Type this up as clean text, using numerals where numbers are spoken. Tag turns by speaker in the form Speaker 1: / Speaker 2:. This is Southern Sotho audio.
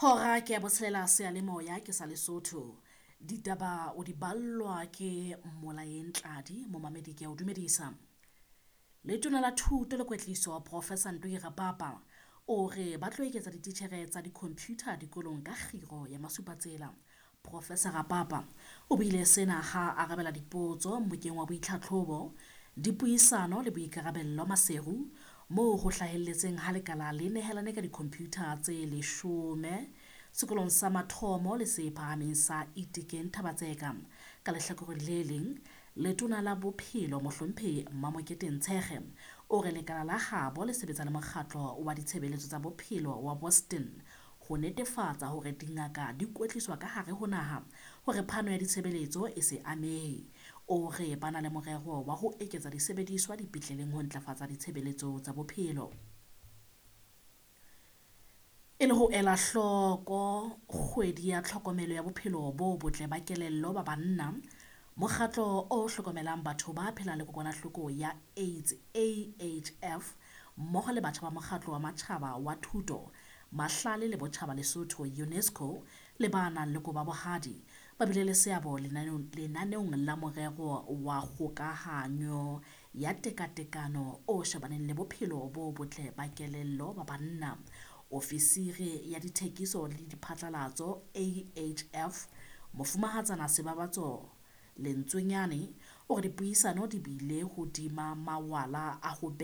Speaker 1: Hora ke ya botshelela seyalemoya ke sa Lesotho. Ditaba o di ballwa ke Molaeng Tladi, momamedi ke a o dumedisa. Letona la Thuto le Kwetliso Professor Ntoi Rapapa o re ba tlo eketsa dititjhere tsa di-computer dikolong ka kgiro ya masupatsela. Professor Rapapa o buile sena ha a arabela dipotso mmokeng wa boitlhatlhobo, dipuisano le boikarabello Maseru moo ho hlahelletseng ha lekala le nehelane ka di-computer tse 10 sekolong sa mathomo le se phahameng sa Itekeng Thaba-Tseka. Ka lehlakoreng le leng, Letona la Bophelo Mohlomphehi Mamokete Ntshekge o re lekala la habo le sebetsa le mokgatlo wa ditshebeletso tsa bophelo wa Boston ho netefatsa hore dingaka di kwetliswa ka hare ho naha hore phano ya ditshebeletso e se amehe. O re ba na le morero wa ho eketsa disebediswa dipetleleng ho ntlafatsa ditshebeletso tsa bophelo. E le ho ela hloko kgwedi ya tlhokomelo ya bophelo bo botle ba kelello ba banna, mokgatlo o hlokomelang batho ba phelang le kokwanahloko ya AIDS AHF mmoho le batjha ba mokgatlo wa matjhaba wa thuto, mahlale le botjhaba Lesotho UNESCO le ba nang le kobo ya bohadi ba bile le seabo lenaneong la morero wa kgokahanyo ya tekatekano o shebaneng le bophelo bo botle ba kelello ba banna. Ofisiri ya dithekiso le diphatlalatso AHF Mofumahatsana Sebabatso Lentswenyane o re dipuisano di bile hodima mawala a ho